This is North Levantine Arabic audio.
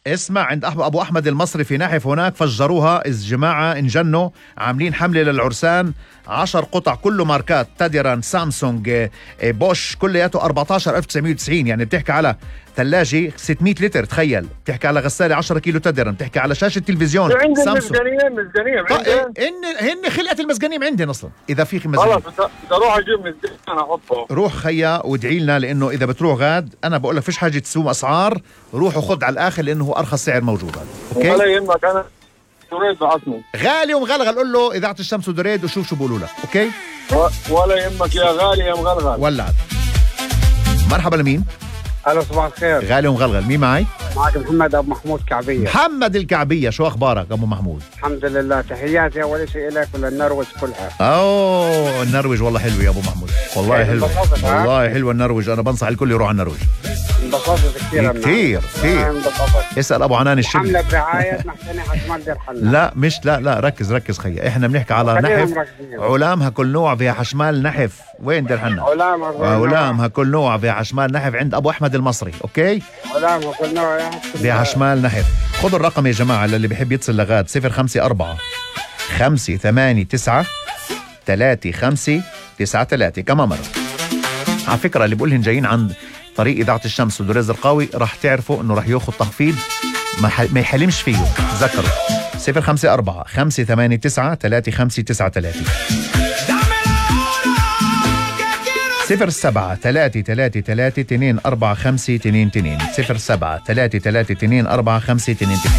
اسمع، عند أبو أحمد المصري في نحف هناك فجروها الجماعة، انجنوا عاملين حملة للعرسان، 10 قطع كله ماركات تاديران سامسونج بوش كلياته 14,990. يعني بتحكي على ثلاجة 600 لتر، تخيل، بتحكي على غسالة 10 كيلو تاديران، بتحكي على شاشة تلفزيون سامسونج. هن خلقة المزجنيم عندنا أصلا. إذا في مزجنيم خلاص بدي أروح أجيب مزجنيم أنا أحطه. روح خيا وادعي لنا، لأنه إذا بتروح غاد أنا بقول لك فيش حاجة تسوم أسعار، روح وخد على الآخر لأنه هو أرخص سعر موجود. أوكي؟ ولا يهمك، أنا دريد بعثني غالي ومغلغل، قول له إذاعة الشمس ودريد وشوف شو بقولوا لك. أوكي؟ ولا يهمك يا غالي يا مغلغل. ولعت. مرحبا لمين؟ ألو صباح الخير. غالي ومغلغل، مين معي؟ معك محمد أبو محمود كعبية. محمد الكعبية، شو أخبارك أبو محمود؟ الحمد لله، تحياتي أول شيء لك وللنرويج كلها. أوه النرويج والله حلو يا أبو محمود، والله حلو، والله حلو النرويج، أنا بنصح الكل يروح على النرويج. انبسطت كثير كثير. اسأل أبو عنان الشبل. حملة برعاية محسنة حشمال دير حنا. لا مش لا ركز خيا، احنا بنحكي على نحف علامها كل نوع فيها حشمال نحف. وين دير حنا؟ علامها كل نوع فيها حشمال نحف عند أبو أحمد المصري. أوكي؟ علامها كل نوع فيها حشمال نحف. خذوا الرقم يا جماعة للي بيحب يتصل لغاد، 054 589 3593. كمان مرة على فكرة اللي بقولهن جايين عند طريق إذاعة الشمس ودريز القاوي راح تعرفوا إنه راح ياخذ تخفيض ما يحلمش فيه. تذكروا 054 589 3593 07 333 245 22 07 333 245 22.